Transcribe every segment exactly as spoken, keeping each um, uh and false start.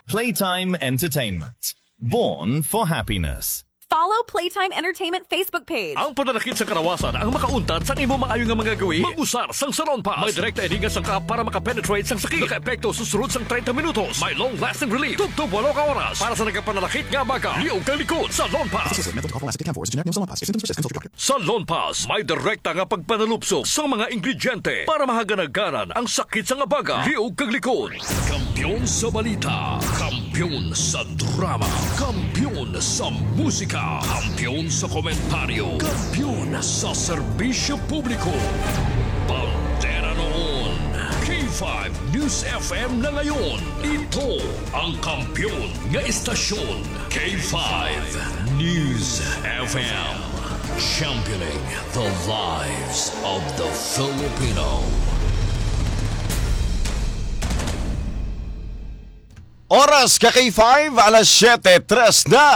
Playtime Entertainment. Born for happiness. Follow Playtime Entertainment Facebook page. Ang panalakit sa kalawasan ang makauntat sa imo maayo nga mga gawi. Mag-usar sang Salon Pass. May direkta ini nga sangkap para makapenetrate sang sakit. Nakaepekto sa sulod sang treinta minutos. May long-lasting relief tubtob walo ka oras. Para sa nagapanalakit nga baga, liog kag likod, Salon Pass. Associated with mental health, lasting ten for is a generic name of Salon Pass. If symptoms persist, consult your doctor. Salon Pass, may direkta nga pagpanalupsok sa mga ingrediente para mahaganaganan ang sakit sa nga baga, liog kag likod. Kampiyon sa balita, kampiyon sa drama, kampiyon sa musika, kampiyon sa komentaryo, kampiyon sa serbisyo publiko. Bandera noon, K five News F M na ngayon. Ito ang kampiyon nga istasyon, K five News F M. Championing the lives of the Filipino. Oras ka K five, alas siyete tres na.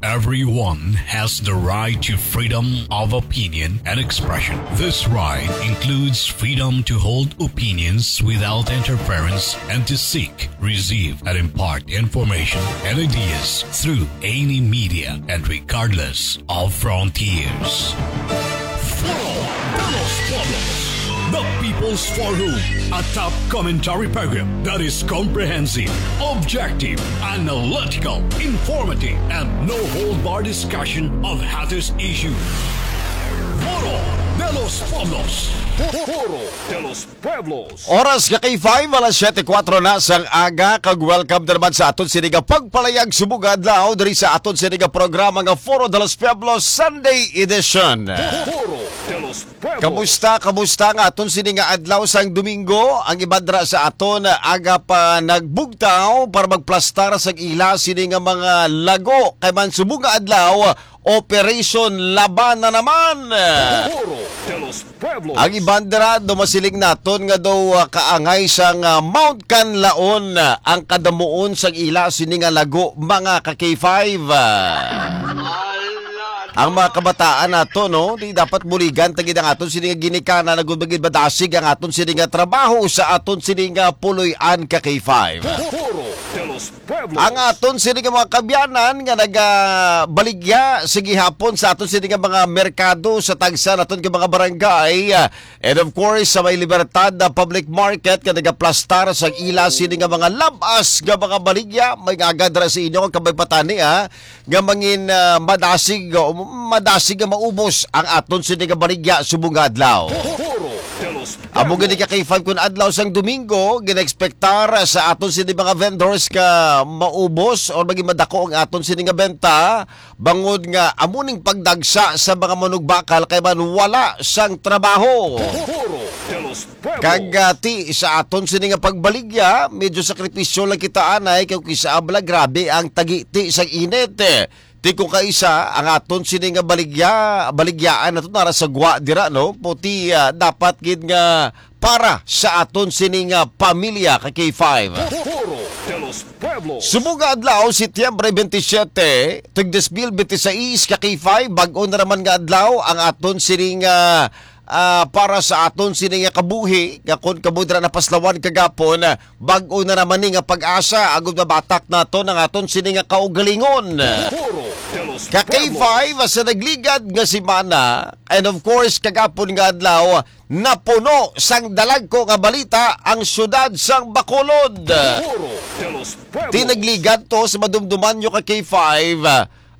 Everyone has the right to freedom of opinion and expression. This right includes freedom to hold opinions without interference and to seek, receive, and impart information and ideas through any media and regardless of frontiers. Foro de los Pueblos, the People's Forum, a top commentary program that is comprehensive, objective, analytical, informative, and no-hold-bar discussion of hottest issues. Foro de los Pueblos. Foro de los Pueblos. Oras nga K five, alas siyete kuwatro na sang aga, kag welcome na naman sa aton sini nga pagpalayag subong nga adlaw diri sa aton sini nga programa nga Foro de los Pueblos Sunday Edition. Foro de los Pueblos. Kamusta, kamusta nga aton sini nga adlaw sang Domingo? Ang iban dira sa aton aga pa nagbugtaw para magplastar sa ila sini nga mga lago, kay man subong nga adlaw, Operation Laban na naman. Foro de los Pueblos. Ang iban dira, daw masiling naton nga daw, ah, kaangay sang, ah, Mount Kanlaon, ah, ang kadamuon sang ila sini nga lago, mga ka K five, ah. Ang mga kabataan nato, no, di dapat buligan ta gid ang aton sini nga ginikanan, agud magin madasig ang aton sini nga trabaho sa aton sini nga puloy-an, ka K five. Foro de los Pueblos. Ang aton sini nga mga kaabyanan nga nagabaligya sa gihapon sa aton sini nga mga merkado sa tagsa naton nga mga barangay, ah, and of course sa may Libertad na Public Market nga nagaplastar sa ila sini nga mga lab-as nga mga baligya, may agad ra sa inyo ang kabay patani, ah, nga mangin, ah, madasig o madasig nga maubos ang aton sini nga baligya subong nga adlaw. Foro de los Amo gani ka K five kun adlaw sang Domingo, ginaekspektar sa aton sini mga vendors nga maubos or maging madako ang aton sini nga benta, bangod nga amo ning pagdagsa sa mga manugbakal kay man wala sang trabaho. Foro de los Pueblos. Kag, ah, ti sa aton sini nga pagbaligya, medyo sakripisyo lang kita anay kay kung isa abla grabe ang tagiti sang init. Ti kung kaisa ang aton sini nga baligya, baligyaan nato nara sa gwa dira, no? Puti, ah, dapat gid nga para sa aton sini nga pamilya ka K five. Foro de los Pueblos. Subong nga adlaw, Setyembre twenty-seven, tig dos mil veintiséis ka K five, bag-o na naman nga adlaw ang aton sini nga, ah, para sa aton sini nga kabuhi, nga kon kamo dira napaslawan kagapon, bag-o na naman ni nga pag-asa, agud mabatak naton ang aton sini nga kaugalingon. Foro de los Pueblos. Ka K five, sa nagligad nga semana, and of course, kagapon nga adlaw, napuno sang dalagko nga balita ang siyudad sang Bacolod. Foro de los Pueblos. Ti nagligad to sa madumduman nyo ka K five,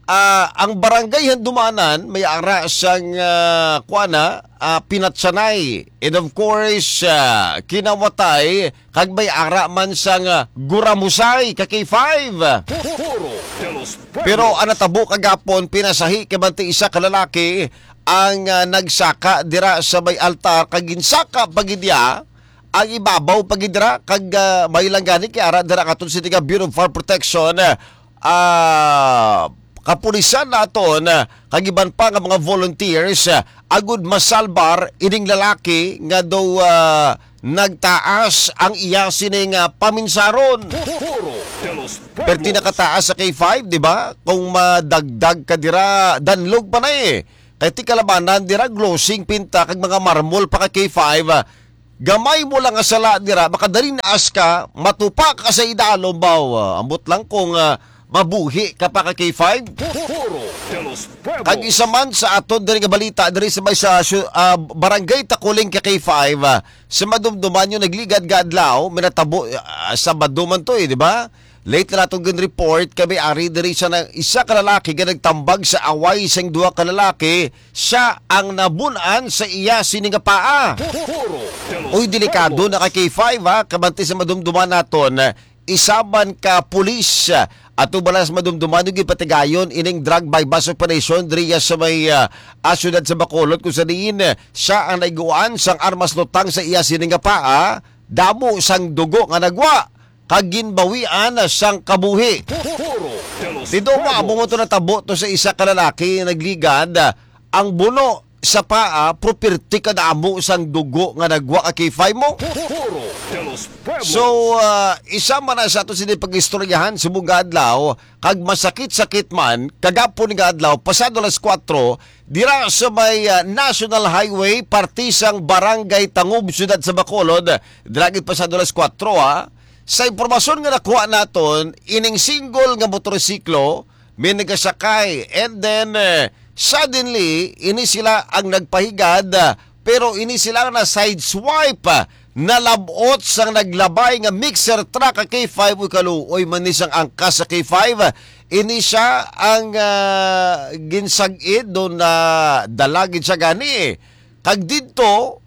ah, ang barangay Handumanan may ara sang, ah, kuan na, ah, pinatsanay. And of course, ah, kinawatay kag may ara man sang, ah, guramusay ka K five. Foro de los Pueblos. Pero ang natabo kagapon, pinasahi kay bantay isa ka lalaki ang, ah, nagsaka dira sa may altar kag ginsaka pa gid niya ang ibabaw pa gid dira kag, ah, may lang gani kay ara dira ang aton sini nga Bureau of Fire Protection, ah, kapulisan naton, ah, kag iban pa nga mga volunteers, ah, agud masalbar ining lalaki nga daw, ah, nagtaas ang iya sining, ah, paminsaron. Foro de los Pueblos. Perti nakataas sa K five, di ba? Kung madagdag ka dira, danlog pa na eh. Kay ti kalabanan dira, glossing pinta kag mga marmol pa ka K five, ah, Gamay mo lang nga sala dira, makadali na as ka, matupa ka sa idalom, baw. Ah, ambot lang kung, ah, mabuhi ka pa ka K five. Foro de los Pueblos. Kag isa man sa aton diri nga balita, diri sa may sa, syu-, ah, Barangay Takuling ka K five, ah, sa madumduman yung nagligad nga adlaw, minatabo, ah, Sabado man to eh, di ba? Late na natong gin-report kami ari diri sa na, isa ka lalaki nga nagtambag sa away sang duha ka lalaki, siya ang nabun-an sa iya sini nga paa. Foro de los Uy, delikado Pueblos. Na ka K five, ha, kabanti sa madumduman naton, isa man ka pulis, ato bala sa madumduman yung gipatigayon ining drug buy-bust operation diri sa may, ah, ah, siyudad sa Bacolod, kung sa diin, eh, siya ang naiguan sang armas lutang sa iya sini nga paa, damo sang dugo nga nagwa kag ginbawian sang kabuhi. Foro de los Tido mo, Pueblos. Amo to natabo to sa isa ka lalaki nga nagligad, ah, ang buno sa paa, properti kadamo sang dugo nga nagwa ka K five mo. Foro de los Pueblos. So, ah, isa man na sa ato sini pag-istoryahan subong nga adlaw, kag masakit-sakit man, kagapon nga adlaw, pasado alas kuwatro, dira sa may, ah, National Highway, parte sang Barangay Tangub, Siyudad sa Bacolod, dira gid pasado alas kuwatro, ha. Sa impormasyon nga nakuha naton, ining single nga motorsiklo may nagasakay, and then, eh, suddenly, ini sila ang nagpahigad, ah, pero ini sila na sideswipe, ah, nalab-ot sang naglabay nga mixer truck ka K five, uy, kaluoy man ni sang angkas sa K five. Ini siya ang, ah, ginsag-id, doon na dalagid siya gani. Kag didto,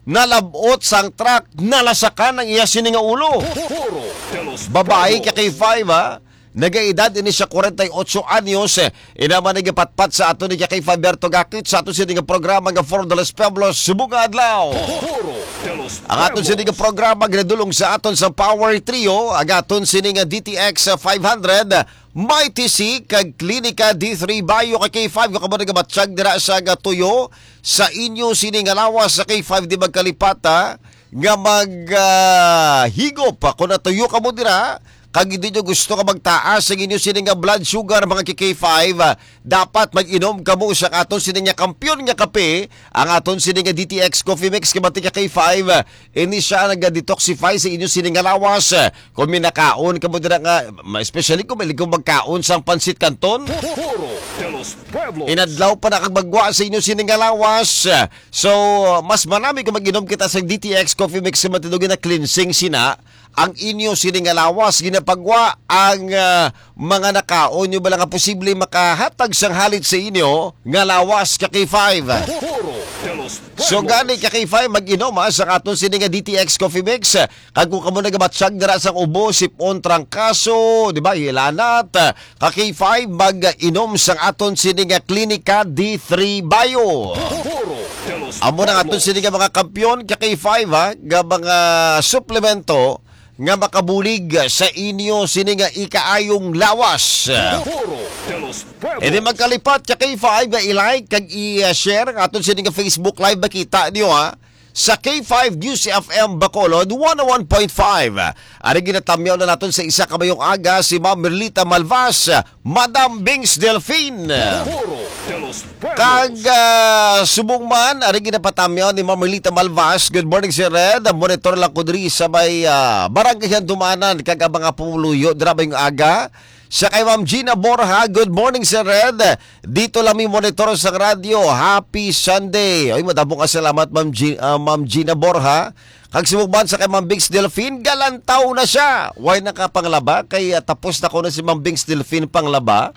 nalab-ot sang truck, nalasakan ang iya sini nga ulo. Foro de los Babae Pueblos. Ka K five, ha? Nagaedad ini siya kwarenta y ocho anyos. Ina man nagapatpat sa ato ni K five Berto Gakit sa ato sini nga programa nga Foro de los Pueblos, subong nga adlaw. Foro de los Ang aton sini nga Pueblos. Programa ginadulong sa aton sa Power Trio, ang aton sini nga D T X five hundred, Mighty C, kag Klinika D three Bio ka K five, nga kamo nagabatyag dira sa nga tuyo sa inyo sini nga lawas sa K five, di magkalipata nga mag, ah, higop. Kung natuyo kamo dira, kag hindi nyo gusto nga magtaas ang inyo sini nga blood sugar, mga K K five, ah, dapat mag-inom kamo sa aton sini nga kampiyon nga kape, ang aton sini nga D T X Coffee Mix, kabanti ka K five. Ini siya naga-detoxify sa inyo sini nga lawas. Kung minakaon kamo dira nga, ma-, especially kung mahilig kamo magkaon sang pansit canton, Foro de los Pueblos. Inadlaw pa na kag magwa sa inyo sini nga lawas. So, mas manami kung mag-inom kita sa D T X Coffee Mix sa matindog na cleansing sina ang inyo sini nga lawas, ginapagwa ang, ah, mga nakaon nyo bala nga posible makahatag sang halit sa inyo nga lawas ka K five. Foro de los So Pueblos. Gani ka K five, mag-inom, ha, sa aton sini nga D T X Coffee Mix. Kag kung kamo nagabatyag dira sang ubo, sipon, trangkaso, di ba, hilanat, ka K five, mag-inom sang aton sini nga Klinika D three Bio. Foro de los Amo na nga aton Pueblos. Sini nga mga kampiyon ka K five, ha, nga mga suplemento nga makabulig sa inyo sini nga ikaayong lawas. Foro de los Pueblos. Hindi magkalipat ka K five nga i-like kag i-share ang aton sini nga Facebook Live, makita niyo, ha, sa K five News F M Bacolod one oh one point five. Ari ginatamyaw na naton sa isa ka mayong aga si Ma'am Merlita Malvas, Madam Bings Delfin. Foro de los Pueblos. Kag, ah, subong man, ari ginapatamyaw ni Ma'am Merlita Malvas. Good morning, Sir Red. Monitor lang ko diri sa may, ah, Barangay Handumanan, kag ang mga pumuluyo dira mayong aga. Sa kay Ma'am Gina Borja, good morning, Sir Red. Dito lang mi monitor sa radyo. Happy Sunday. Oy, madamo nga salamat, Ma'am Gi-, ah, Ma'am Gina Borja. Kag subong man sa kay Ma'am Bings Delfin, galantaw na siya. Way nakapanglaba, kay, ah, tapos na ko na si Ma'am Bings Delfin panglaba.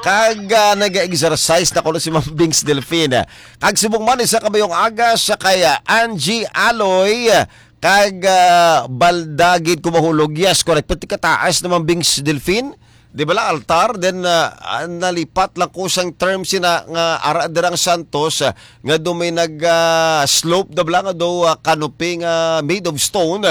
Kag, ah, nag-exercise na ko na si Ma'am Bings Delfin. Kag subong man isa ka mayong aga sa kay, ah, Angie Aloy. Kag, ah, balda gid ko mahulog. Yes, correct. Pati kataas naman, Bings Delfin. Di ba la, altar? Then, ah, ah, nalipat lang ko sang term sina nga ara dirang Santos, ah, nga do may nag, ah, slope na bala nga do, ah, canopy nga made of stone.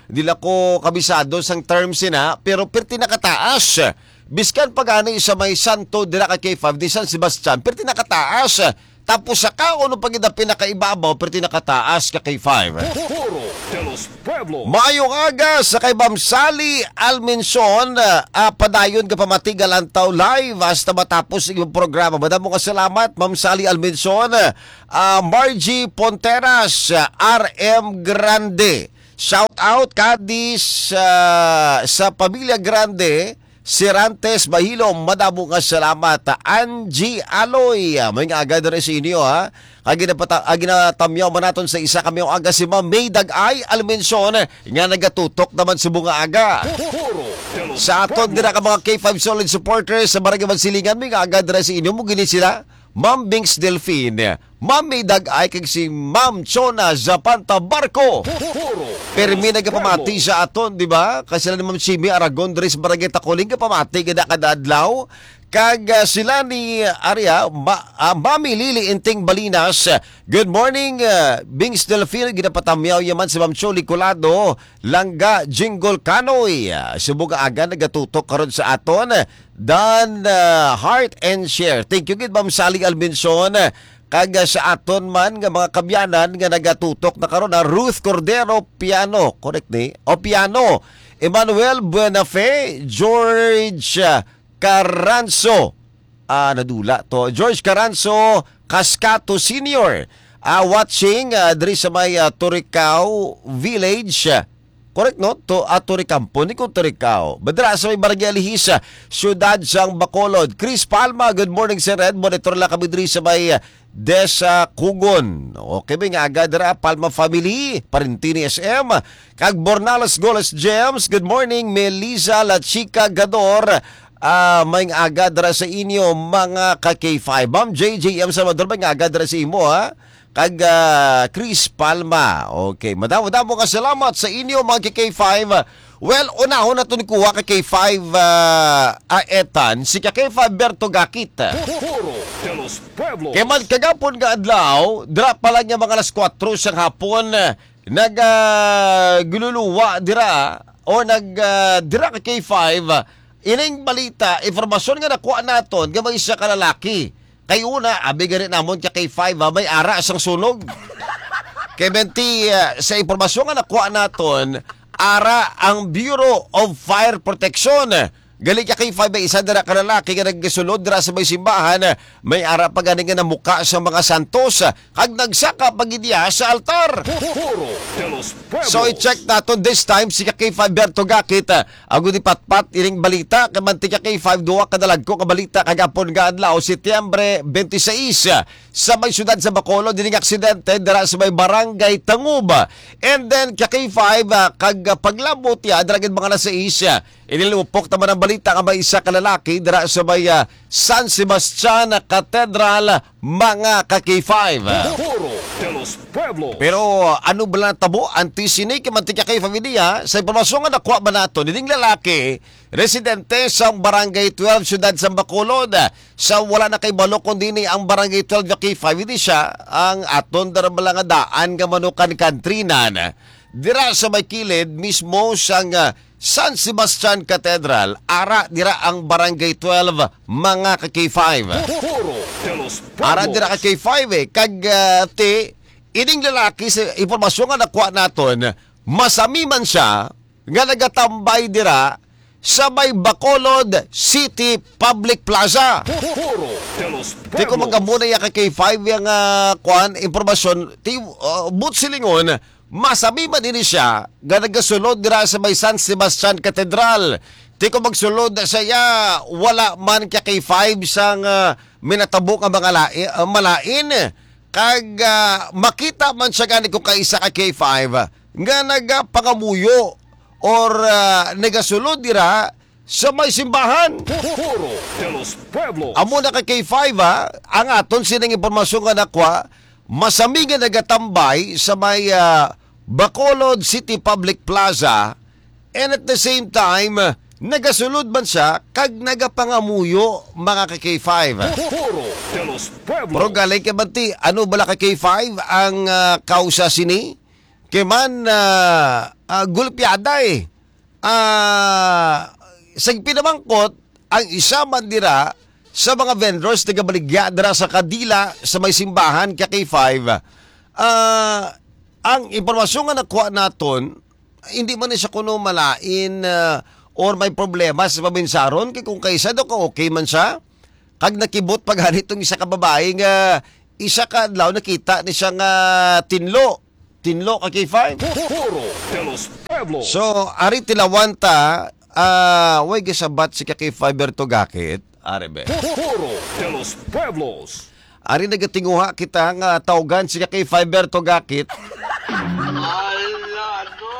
Di lang ko kabisado sang term sina, pero perti nakataas. Biskan pa gani sa may Santo dira ka K five, di San Sebastian, perti nakataas. Tapos sa kaon pa gid ang pinakaibabaw, perti nakataas ka K five. Foro de Pueblo. Maayong aga sa kay Ma'am Sally Almenson. Ah, padayon ka pamati nga Lantaw Live hasta matapos ang imong programa. Madamo nga salamat, Ma'am Sally Almenson. Ah, Margie Ponteras, ah, R M Grande. Shout out, Kadis, ah, sa Pamilya Grande. Serantes Bahilom, madamo nga salamat. Angie Aloy, ah, may nga aga diri sa inyo, ha. Ang ginapata-, ang ginatamyaw man naton sa isa kami ang aga si Ma'am May Dag-ay Almenson, nga nagatutok naman sa mga aga. Sa aton dira ka mga K five solid supporters sa Barangay Mansilingan, may nga aga dira sa inyo mo gini sila. Ma'am Bings Delfin, Ma'am May Dag-ay kag si Ma'am Chona Zapanta Barco. Permi nagapamati sa aton, di ba? Kasi sila ni Ma'am Simi Aragon diri sa Barangay Tacoling, gapamati kada kada adlaw. Kag ah, sila ni Aria, ma, ah, Mami Lily Inting Balinas. Good morning, ah, Bings Delfin. Ginapatamyaw yaman si Ma'am Choli Colado, Langga Jingle Kanoy. Ah, subong nga aga nagatutok karon sa aton. Dan ah, Heart and Share. Thank you gid, Ma'am Sally Almenson. Kag ah, sa aton man nga mga kabyanan nga nagatutok na karon, ah, Ruth Cordero Piano, correct ni? O Piano. Emmanuel Buenafe, George ah, Caranzo. Ah, nadula to. George Caranzo Cascato Senior. Ah, watching ah, diri sa may ah, Turicao Village. Correct, no? To, ah, Turicampo, ni ko Turicao. Madra sa may Barangay Alihis, ah, siyudad sang Bacolod. Chris Palma, good morning, Sir Red. Monitor lang kami diri sa may ah, Desa Kugon. Okay, may nga aga dira, Palma family, parinti ni S M. Kag Bornales Goles Gems, good morning, Melissa La Chica Gador. Ah, may nga aga dira sa inyo, mga ka K five. Ma'am J J M Salvador, may nga aga dira sa imo, ha? Kag ah, Chris Palma. Okay, madamo-damo nga salamat sa inyo, mga ka K five. Well, unahon naton kuha ka K five, ah, Aetan, si ka K five Berto Gakit. Foro de los Pueblos. Kay man kagapon nga adlaw, dira pa lang nga mga alas kuwatro sang hapon, nag, ah, gululuwa dira, o nag, ah, dira ka K five, ining balita, impormasyon nga nakuha naton, nga may isa ka lalaki. Kay una, abi gani namon ka K five, ha, may ara sang sunog. Kay menti, ah, sa impormasyon nga nakuha naton, ara ang Bureau of Fire Protection. Gali ka K five, may isa dira ka lalaki nga nagsulod dira sa may simbahan. May ara pa gani nga namuka sa mga santos, kag nagsaka pa gid iya sa altar. Foro de los Pueblos. So, i-check naton this time si ka K five Berto Gakit, ah, ang ipatpat ining balita, kay mantika K five, duha ka dalagko ka balita kagapon nga adlaw, Setyembre twenty-six, ah, sa may siyudad sa Bacolod, ining aksidente dira sa may Barangay Tangub. And then, ka K five, ah, kag, ah, paglabot niya, dira gid mga alas sais, ah, inilupok naman ang balita nga may isa ka lalaki dira sa may, ah, San Sebastian Cathedral, mga ka K five. Foro de los Pueblos. Pero ano ba natabo antes sini kay mantika kay familia? Sa impormasyon nga nakuha ba nato, nining lalaki, residente sa Barangay twelve, Siyudad sa Bacolod. Sa wala na kay balo kung dini ang Barangay twelve nga K five, hindi siya ang aton darabala nga daan nga manukan kantrinan. Dira sa may kilid mismo sang, ah, San Sebastian Cathedral, ara dira ang Barangay twelve, mga ka K five. Foro de los Pueblos. Ara dira ka K five, eh. Kag, ah, ti, ining lalaki, sa impormasyon nga nakuha naton, masami man siya nga nagatambay dira sa may Bacolod City Public Plaza. Foro de los Pueblos. Ti ko magkamuna ya ka K five yang, ah, kuan, impormasyon, ti, ah, but silingon, masami man ini siya nga nagasulod dira sa may San Sebastian Cathedral. Ti ko magsulod sa iya, wala man ka K five sang, ah, minatabo nga mga lai-, ah, malain. Kag, ah, makita man siya gani ko kaisa ka K five nga nagapangamuyo or, ah, nagasulod dira sa may simbahan. Foro de los Pueblos. Amo na ka K five, ha, ang aton sining impormasyon nga nakuha, masami nga nagatambay sa may, ah, Bacolod City Public Plaza, and at the same time, nagasulod man siya kag nagapangamuyo, mga ka K five. Foro de los Pueblos. Pero galing kay manti, ano bala ka K five ang, ah, kausa sini? Kay man, ah, ah, gulpiada, eh. Ah, sa pinamangkot, ang isa man dira sa mga vendors nagabaligya dira sa kadila sa may simbahan ka K five, ah, ang impormasyon nga nakuha naton, hindi man ni siya kuno malain, ah, or may problema sa pabinsaron, kay kung kaisa daw ka okay man siya, kag nakibot pa gani tong isa ka babae nga isa ka adlaw nakita ni siya nga tinlo. Tinlo ka K five. Foro de los Pueblos. So, ari tilawan ta, ah, way gisabat si ka K five Berto Gakit. Ari be. Foro de los Pueblos. Ari nagatinguha kita nga tawgan si ka K five Berto Gakit. Ala, no?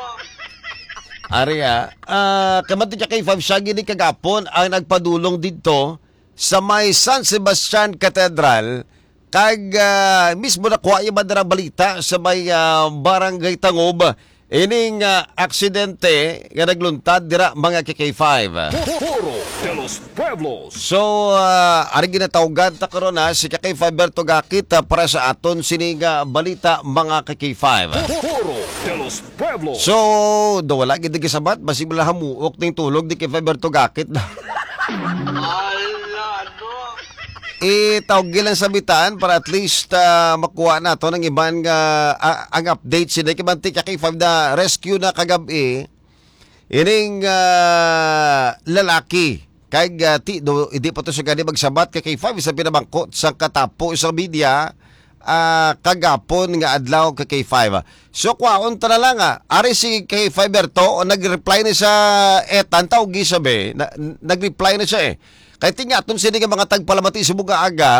Ari, ah, ah, kamat ni ka K five, siya gini kagapon ang nagpadulong didto sa may San Sebastian Cathedral, kag, ah, mismo nakuha yung mga balita sa may, ah, Barangay Tangob, ining, ah, aksidente nga nagluntad dira, mga ka K five. Foro de los Pueblos. So, ah, ari ginatawgan ta karon, ha, si ka K five Berto Gakit, ah, para sa aton sini nga balita, mga ka K five. Foro de los Pueblos. So, do wala gid gisabat, basi wala hamuok ning tulog ni ka K five Berto Gakit na. Ala, no? Itawag lang sa bitaan para at least, ah, makuha nato ng iban nga, ah, ang update sila. Kay mantik ka K five na rescue na kagab-i. Ining, ah, lalaki. Kay, ah, ti, do, hindi pa to siya gani magsabat ka K five. Isa pinamangkot sa katapo sa media, ah, kagapon nga adlaw ka K five. So, kwaon ta na lang, ah. Ari si K five Berto, o nag-reply na sa Etan, tawgi sabi. Na, nag-reply na siya, eh. Kay tingaton sini nga mga tagpalamati sa mga aga,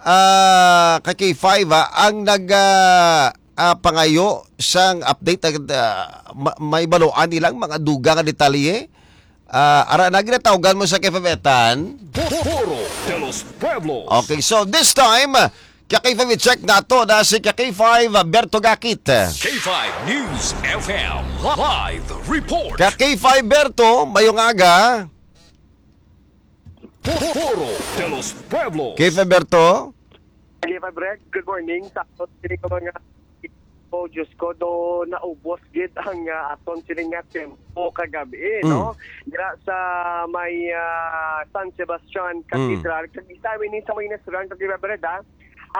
ah, kay K five, ah, ang nag, ah, ah, pangayo sang update, ah, ma-, may baluan nilang mga dugang nga detalye. Ah, ara na ginatawgan mo sa K five Etan. Foro de los Pueblos. Okay, so this time, ka K five i-check nato na si ka K five Berto Gakit. K five News F M live report. Ka K five Berto, mayong aga. Foro de los Pueblos. K five Berto. K five Red, good morning. Sa aton sini ko mga, oh, Diyos ko, do naubos gid ang, ah, aton sini nga tempo kagabi, Mm. no? Dira sa may, ah, San Sebastian Mm. Cathedral. Kag isa ini sa may restaurant, K five Red, ah.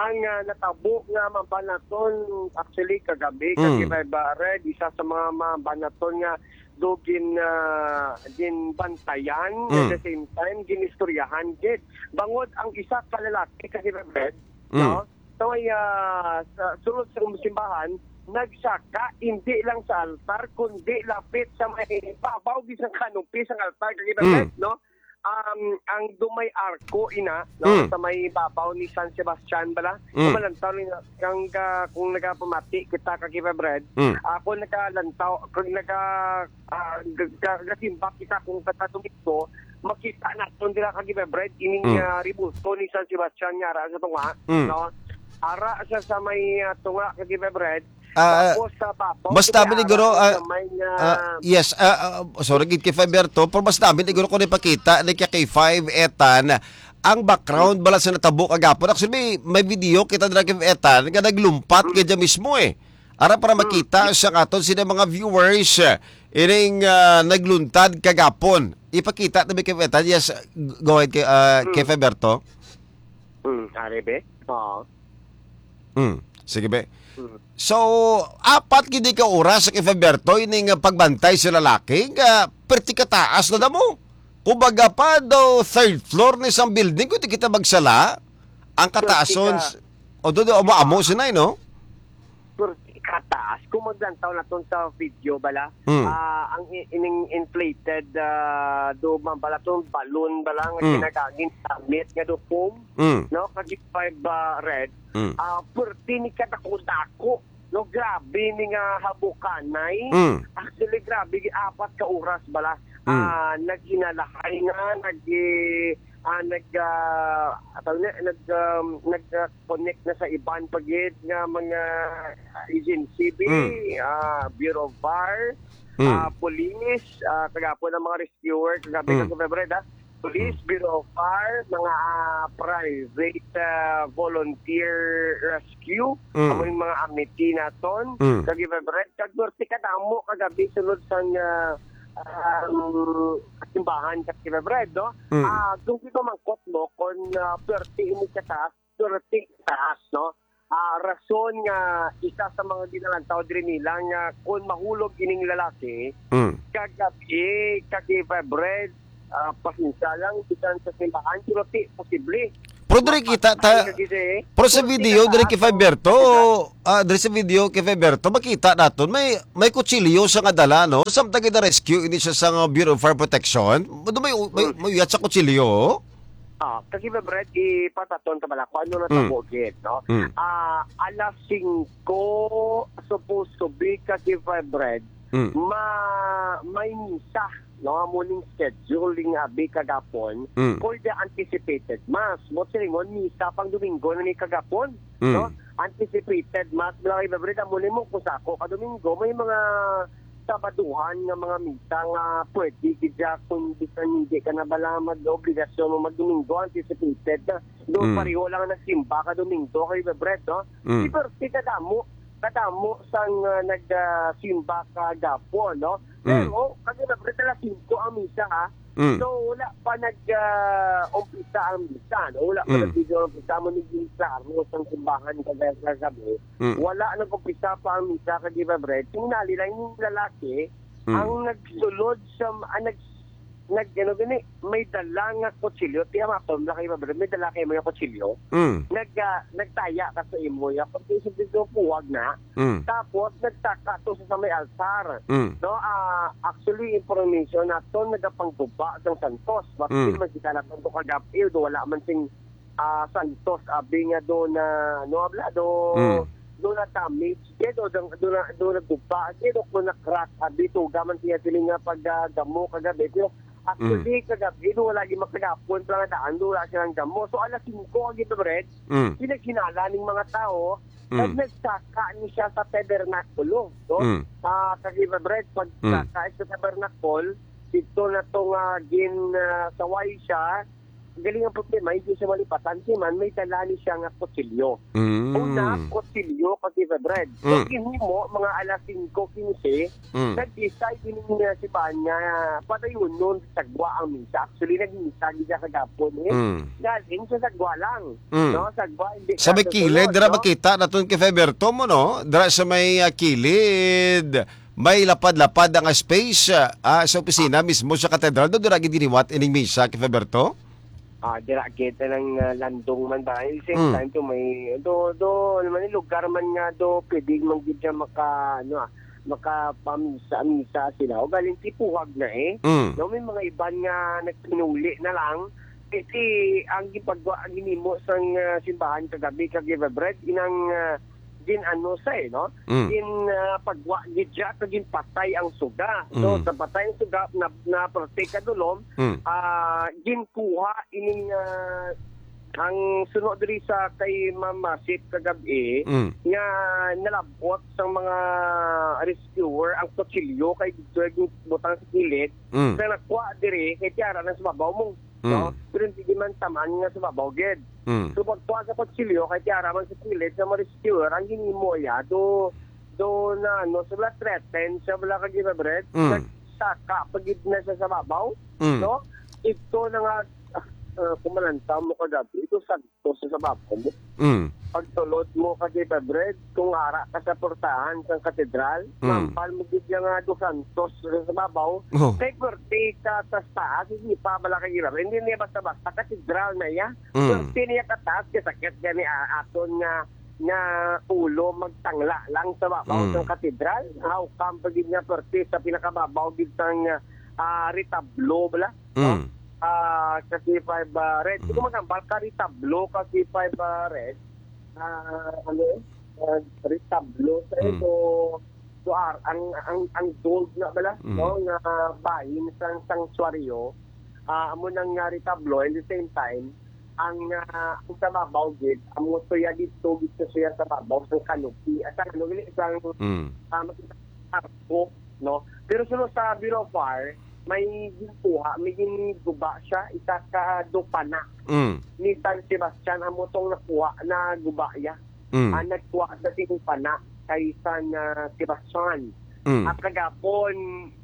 Ang, ah, natabo nga mabanaton, actually, kagabi, Mm. K five Red, isa sa mga mabanaton nga do gin, ah, ginbantayan, Mm. at the same time, ginistoryahan gid. Bangod ang isa ka lalaki, K five Red, Mm. no? Sa may, ah, sa sulod sa simbahan, nagsaka, hindi lang sa altar, kundi lapit sa may babaw, bisan kanopy sang altar, K five Red, Mm. no? Um, ang dumay arko, ina, no? Mm. Sa may babaw ni San Sebastian bala. Mm. Malantaw ni nga, kang, ah, kung nagapamati kita, K five Red, Mm. ako nakalantaw, kung naga-, ah, ga-, ga-, gasimba kita kung kada Domingo, makita naton dira, K five Red, ining, Mm. ah, rebulto ni San Sebastian nga ara sa tunga, Mm. no? Ara siya sa may, ah, tunga, K five Red. Ah, Tapos sa babaw, basta kaya biniguro, ara ah, sa may, ah, ah, yes, ah, ah, sorry, gid kay Fiverto, pero basta biniguro ko ni pakita ni kay K five Etan ang background bala sa natabo kagapon. Actually, may, may video kita dira kay Etan nga naglumpat Mm. kay dyan mismo, eh. Ara para Mm. makita sa aton sila mga viewers, eh, ining, ah, nagluntad kagapon. Ipakita na ba kay Etan? Yes, g-, go ahead kay, ah, Mm. kay Fiverto. Mm, are be? Oo. Mm, sige, be. Mm. So, apat gid ka oras sa kay Fiverto ining pagbantay sa lalaki nga perti kataas na damo. Kumbaga pa daw third floor ni isang building, kung di kita magsala, ang Perti kataason ka. s-, o do, do, amo, amo sinay, no? Perti kataas. Kung maglantaw naton sa video bala, Mm. ah, ang i-, ining inflated, ah, do man bala tong balloon bala nga Mm. ginagagin sa gamit nga do foam, Mm. no? Kag five, ah, red, Mm. ah, perti ni kadako-dako, no? Grabe ni nga habukanay. Mm. Actually, grabe, apat ka oras bala. Mm. Ah, naghinalahay nga, nag-, ah, nag-, ah, tawag na, nag-, um, nag-, ah, connect na sa iban pa gid nga mga agency, bi, Mm. ah, Bureau of Fire, Mm. ah, police, ah, kagapon ang mga rescuer, kagabi Mm. ka February, ah. Police, Mm. Bureau of Fire, mga, ah, private, ah, volunteer rescue, Mm. amo yung mga amity naton, Mm. kag February, kag norte kadamo kagabi sulod sang, ah, um, simbahan sa February, no? Mm. Ah, kung di ko mangkot mo, kung, ah, thirty ini kataas, thirty taas, no? Ah, rason nga isa sa mga ginalantaw diri nila nga kon mahulog ining lalaki, Mm. kagabi, kag Febred, ah, pasensya lang, bisan sa simbahan, pero ti, posible. Pero diri kita, ta-, Mapatay ka gid eh. pero sa Pero video, diri kay tinataas ang Faberto, ah, diri sa video kay Faberto, makita naton, may, may kutsilyo sa nga dala, no? Samtang gina-rescue ini siya sa nga Bureau of Fire Protection, may, may, Hmm. may uyat sa kutsilyo. Ah, kasi, Brad, ipataton ka bala kung ano na Mm. tabo gid, no? Mm. Ah, alas singko, supposed to be, kasi, Brad, Mm. ma-, may misa, no? Amo ning schedule ning abi kagapon Mm. for the anticipated mass. Mo silingon, misa pang Domingo na ni kagapon, Mm. no? Anticipated mass, mga kaiba, Brad, amo ni mo, kung sa ako ka Domingo, may mga Sabaduhan nga mga misa nga pwede gid siya kung bisan hindi ka na bala mag-obligasyon mo mag-Domingo, anticipated na. Do Mm. pareho lang ang nagsimba ka Domingo kay Bebret, no? Mm. Di perti kadamo, kadamo sang, ah, nag, ah, simba kagapon, no? Mm. Pero, kag Bebret, alas singko ang misa, ha? Mm. So, wala pa nag, ah, umpisa ang misa, no? Wala pa Mm. nag-umpisa mo naging klaro sang simbahan kag-, kagabi. Mm. Wala nag-umpisa pa ang misa kag Bebret. Tingali lang yung lalaki Mm. ang nagsulod sa, ang nag-, nag-, ano gani, may dala nga kutsilyo. Tiya, mapon lang kayo, Bebret. May dala kayo mga kutsilyo. Mm. Nag-, ah, nagtaya ka sa imo, ya. Pag isip dito, puwag na. Mm. Tapos, nagtaka to sa, sa may altar. Mm. No, ah, actually, information nato, nagapangguba sang santos. Bakit Mm. man kita na to kagabi, do wala man sing, ah, santos, abi nga do na, no, abla, do, Mm. do na damage, gid, o do, do na, do na guba, gid, o kung na crack, abi, tuga man siya sila nga pag, ah, gamo kagabi. Pero actually, Mm. kagabi, do wala gyud makagapon, pala nga daan, do wala silang gamo. So, alas singko, ang gito, Brad, Mm. pinaghinala ning mga tao, Mm. nag-, nagsaka ni siya sa tabernakulo, no? Mm. Ah, kag Bebret, pag Mm. saka sa tabernakulo, dito na to nga gin, ah, saway siya, galing ang problema, hindi siya malipatan, si man, may dala ni siya nga kutsilyo. Mm. Una, kutsilyo, kag Bebret. So, Mm. ginhimo, mga alas singko quince, Mm. nag-decide din niya si Ban nga padayonon sa sagwa ang misa. Actually, nagmisa gid siya kagapon, eh. Mm. Galing sa sagwa lang. Mm. No, sagwa, hindi Sa may ka kilid, susunod, dira no? Makita naton kay Faberto mo, no? Dira sa may, ah, kilid, may lapad-lapad nga space, ah, sa opisina mismo sa katedral. Do, dira gid giniwat ining misa kay Faberto? Ah, dira kita ng, ah, landong man ba? At the same Mm. time, to may, do, do, ano man, yung lugar man nga, do, pwede man gid siya maka, ano, ah, makapamisa-misa sila. O galing tipuhag na, eh. Mm. No, may mga iban nga nagpinuli na lang. Kasi ang gipagwa-, ang ginimo sang, ah, simbahan kagabi, kag Bebret, inang, ah, gin-ano sa, eh, no? Mm. Gin, ah, pagwa gid siya, kag ginpatay ang suga. So, Mm. sa patay ang suga, na, na parte kadulom, Mm. ah, ginkuha ining, ah, ang suno diri sa kay Ma'am Masit kagabi, Mm. nga nalabot sang mga rescuer ang kutsilyo kay dito butang sa kilid, Mm. na nakuha diri kay tiara na sa babaw mo, no? Mm. Pero hindi man taman nga sa babaw gid. Mm. So, pagkuha sa kutsilyo kay tiara man sa kilid sa mga rescuer, ang ginimo iya, do, do na, ano, sa wala threaten, sa wala kag Bebret, Mm. nagsaka pa gid na siya sa babaw, Mm. no? Ito na nga, ah, kumalanta mo kagabi, ito sa to sa, sa babaw mo. Mm. Pagsulod mo kag Bebret, kung ara ka sa portahan sang katedral, Mm. mampal mo gid nga dos santos sa, sa babaw. Oh. Kay pwerte ka sa taas, hindi pa bala kag Bebret. Hindi niya basta-basta, katedral na iya. Mm. Pwerte niya kataas, kay sakit gani, ah, aton nga, nga ulo magtangla lang sa babaw Mm. sang katedral. How come pa gid nga pwerte sa pinakababaw gid sang, ah, retablo bala? No? Mm. Ah, kasi five, ah, red. Kung Mm. magambal ka, retablo, kasi five, ah, red. Ah, ano yun? Ah, retablo. Sa Mm. ito, so, ar-, ang, ang, ang gold na bala, Mm. no? Nga bahin sa sanctuaryo, ah, amo nang nga retablo, and the same time, ang, ah, ang sa babaw gid, amo to ya dito, dito siya sa babaw, sa canopy. At ang, ano, gini, isang, Mm. ah, makita, arko, no? Pero suno sa Bureau of Fire, may ginkuha, may ginguba siya, isa ka dupana Mm. ni San Sebastian, amo tong nakuha, naguba iya. Mm. Ang nagkuha sa tingpana kay San, ah, Sebastian. Mm. At kagapon,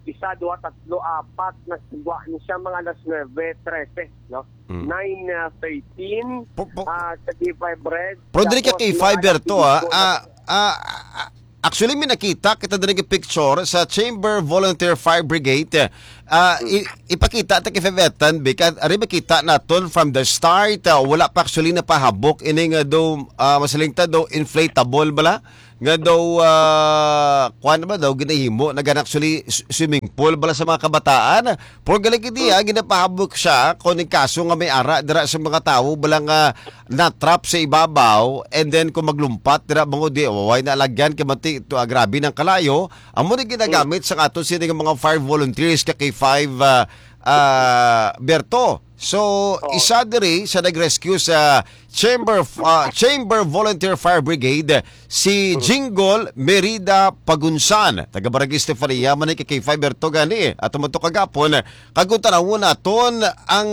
isa, duha, tatlo, apat, nagwa ni siya mga alas nuebe trese, no? Mm. Nine, ah, thirteen, Po-, po-, ah, sa K five Red. Pero diri ka Tapos, K five, mga Berto, ah, activity ah, ah, ah, actually, may nakita kita diri nga picture sa Chamber Volunteer Fire Brigade. Ah, Mm. i-, ipakita ta kay Fevetan, because ari makita naton from the start, ah, wala pa actually napahabok ini nga daw, ah, masiling ta daw inflatable bala? Nga daw, ah, kuwan ba daw ginahimo na gan actually s-, swimming pool bala sa mga kabataan? Pero galing hindi, ah, ginapahabok siya kung ning kaso nga may ara dira sa mga tawo bala nga na-trap sa ibabaw, and then kung maglumpat dira, mga di, waway na lagyan kay manti, to, ah, grabe ng kalayo. Amo ni ginagamit sa ato sini nga mga fire volunteers ka K five, ah, ah, Berto. So, Oh. isa diri sa nag-rescue sa Chamber, ah, Chamber Volunteer Fire Brigade, si Jinggol Merida Pagunsan, taga Barangay Estefania, man ni ka K five Berto gani. At tumato kagapon, kag kung tanawon naton ang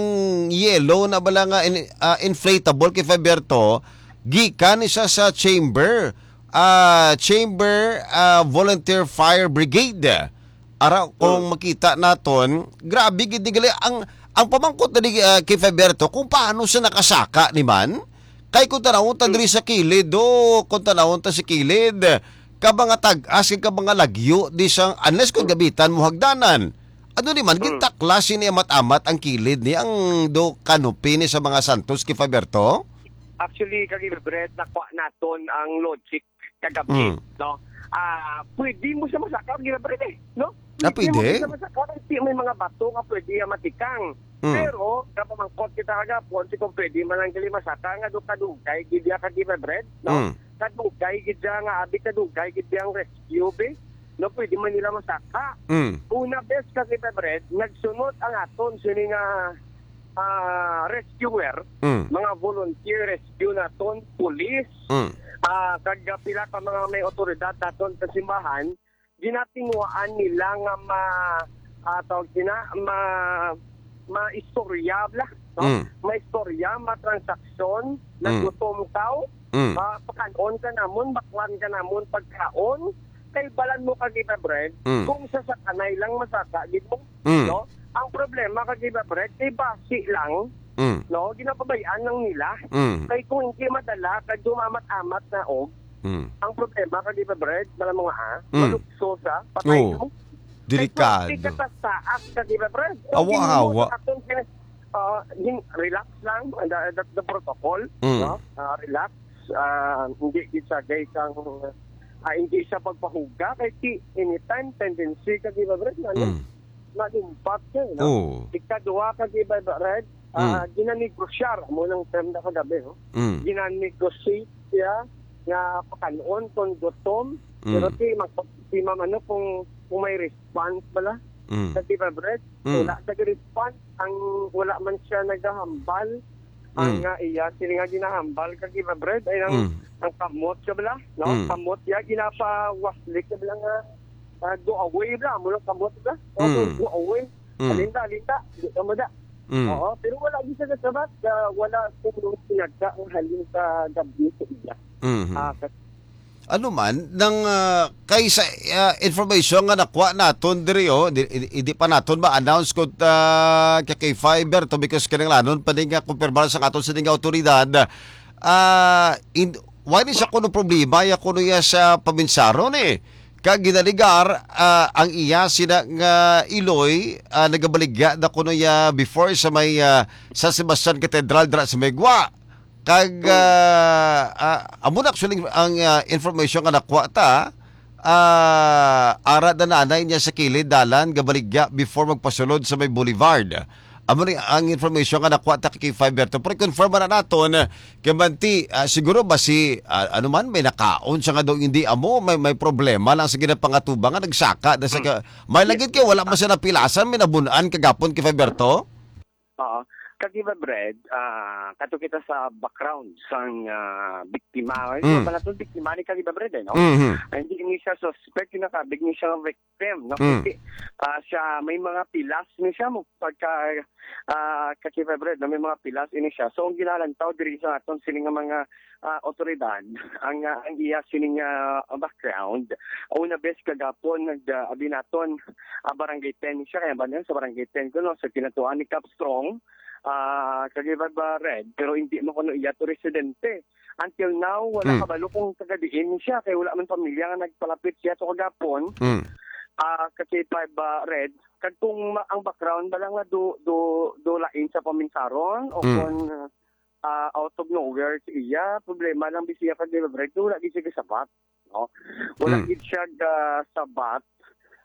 yellow na bala nga in-, ah, inflatable K five Berto, gikan ni siya sa Chamber, ah, Chamber, ah, Volunteer Fire Brigade. Ara, kung Mm. makita naton, grabe gid ni gali. Ang, ang pamangkot na ni, ah, kay Faberto, kung paano siya nakasaka ni man? Kay kung tanawon ta Mm. diri sa kilid, do, kung tanawon ta sa kilid, ka mga tag-as, ka mga lagyo, di sa, unless kung Mm. gamitan mo hagdanan. Ano ni man, Mm. gintaklas ni amat-amat ang kilid ni ang do canopy ni sa mga santos kay Faberto? Actually, kag Bread, nakuha naton ang logic kagabi, Mm. no? Ah, pwede mo siya masaka, Ginabret, eh, no? Ah, Pwede mo pwede? siya masaka, kasi may mga bato nga pwede nga matikang. Mm. Pero, napamangkot kita kagapon, si kung pwede man lang gali masaka, nga do kadugay, gid ya ka Ginabret, no? Mm. Kadugay, gid ya nga, abi kadugay, gid ya ang rescue, be? No, pwede man nila masaka. Mm. Una, bes, ka Ginabret, nagsunod ang aton, sini nga, ah, rescuer, Mm. mga volunteer rescue naton, police, Mm. ah, kag pila ka mga may otoridad naton sa simbahan, ginatinguhaan nila nga ma-, ah, tawag sina, ma-, maistorya, bla, no? Mm. Maistorya, matransaksyon, Mm. nagutom ka, Mm. ah, pakan-on ka namon, baklan ka namon, pagkaon, kay balan mo ka kita, Brad, Mm. kung sa sakanay lang masaka, gid mo, Mm. no? Ang problema ka kita, Brad, kay basi lang, Mm. no? Ginapabay-an lang nila. Mm. Kay kung hindi madala, kay dumamat-amat na og, Mm. ang problema ka kita, Brad, malamang nga, ah, Mm. malukso sa patay Oo. mo. Delikado. Kay kung hindi ka taas ka kita, Brad, kung Awa, hindi mo awa. sa atong kina-, ah, gin-, relax lang, the, the, the protocol, Mm. no? Ah, relax, ah, hindi gid sa gay kang, ah, hindi sa pagpahuga, kay ti, anytime tendency ka, di ba, Brad, ano? Mm. Malumpat ka, no? Oo. Ikaduha ka, di ba, Brad? Ah, Mm. ginanegosyar, mo nang term na kagabi, no? Mm. Ginanegosyate siya nga pakanon kung gutom, Mm. pero si, mag-, si ma'am, ano, kung, kung may response bala, Mm. sa di ba, Brad? Mm. Wala sa response, ang wala man siya nagahambal, ang Mm. nga iya, sila nga ginahambal ka, di ba, Brad? Ay, ang, Mm. ang kamot ka bala, no? Mm. Kamot ya, ginapawaslik ka bala nga, ah, go away bala, mo lang kamot bala. O, Mm. go away. Mm. Alinta, alinta, di ka mo da. Mm. Oo, pero wala gid siya nasabat, ah, wala sing pinagka ang halin sa gabi sa iya. Mhm. Ah, sa Ano man, nang, ah, kay sa, ah, information nga nakuha naton diri, oh, di, di, di pa naton ma-announce kung, ah, ka K five Berto, because kinahanglanon pa din nga kumpirmar sa aton sining nga awtoridad. Ah, in, wala ni siya kuno problema, ya kuno ya sa paminsaron, eh. Kag ginaligar, ah, ang iya sina nga iloy, ah, nagabaligya na kuno ya before sa may, ah, San Sebastian Cathedral dira sa may Guwa. Kag, Mm. ah, ah, amo na actually ang, ah, information nga nakuha ta, ah, ara na nanay niya sa kilid dalan gabaligya before magpasulod sa may Boulevard. Amo ni ang information nga nakuha ta kay Fiverto. Pero confirm na naton, kay manti, ah, siguro ba si, ah, ano man, may nakaon siya nga daw hindi amo, may, may problema lang sa ginapangatuba nga nagsaka na sa Mm. ka-, may Yes. lagit kay wala man siya napilasan, may nabunan kagapon kay Fiverto? Oo. Kagiba Bread, ah, kato kita sa background sang, ah, biktima. Ay, Mm. wala to biktima ni Kagiba Bread, eh, no? Mhm. Ay, hindi ni siya suspect, yung nakabig ni siya ng victim, no? Mm. Kasi, ah, siya, may mga pilas ni siya, mo, pagka, ah, Kagiba Bread, no? May mga pilas ini siya. So, ang ginalantaw diri sa aton sini nga mga, ah, otoridad, ang, ah, ang iya sini nga background, una bes kagapon, nag, ah, abi naton, ah, Barangay ten siya, kaya ba niya sa Barangay ten ko, no? Sa kinatuan ni Cap Strong, ah, kag iba ba red, pero hindi mo kuno iya to residente. Until now, wala Hmm. kabalo kung taga diin siya, kay wala man pamilya nga nagpalapit siya to kagapon. Hmm. Ah, kasi pa ba red, kag kung ma-, ang background ba lang nga do, do, do lain sa paminsaron o Hmm. kung, ah, out of nowhere si iya, problema lang bisi iya kag red, wala gid siya gasabat, no? Wala Hmm. gid siya gasabat.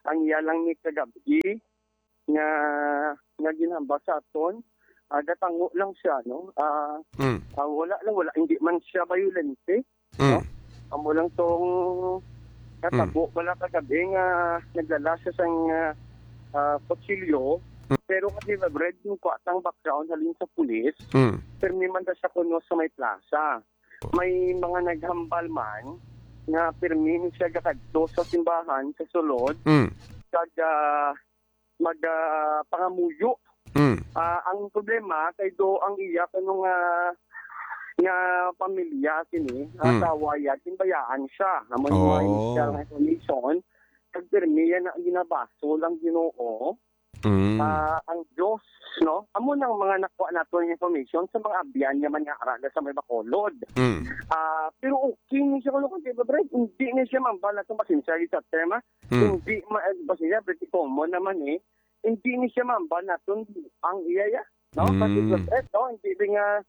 Ang iya lang ni kagabi, nga, nga ginhambal sa aton, ah, gatango lang siya, no? Ah, Mm. ah, wala lang, wala, hindi man siya bayolente, Mm. no? Amo lang tong natabo Mm. pala kagabi nga nagdala siya sang, ah, ah, kutsilyo. Mm. Pero kasi, Brad, yung kuha sang background halin sa pulis, Mm. pirmi man daw siya kuno sa may plaza. May mga naghambal man nga pirmi ni siya gakadto sa simbahan sa sulod, Mm. kag, ah, mag, ah, pangamuyo. Mm. Ah, ang problema kay do ang iya kuno nga, nga pamilya sini, Mm. asawa iya, ginbayaan siya. Amo yung mga Oh. initial nga information. Kag pirmi yan ang ginabasol ang Ginoo. Mm. Ah, ang Dios, no? Amo nang mga nakuha nato nga information sa mga abyan nga man nga ara sa may Bacolod. Mm. Ah, pero okay ni siya kuno kung di ba, Brad? Hindi ni siya mambal nato, pasensya sa term, ah. Mm. Hindi ma-, eh, pasensya, pretty common naman, eh. Hindi ni siya mambal nato ang iya, ya. No? Mm. Kasi, eh, no? Hindi rin nga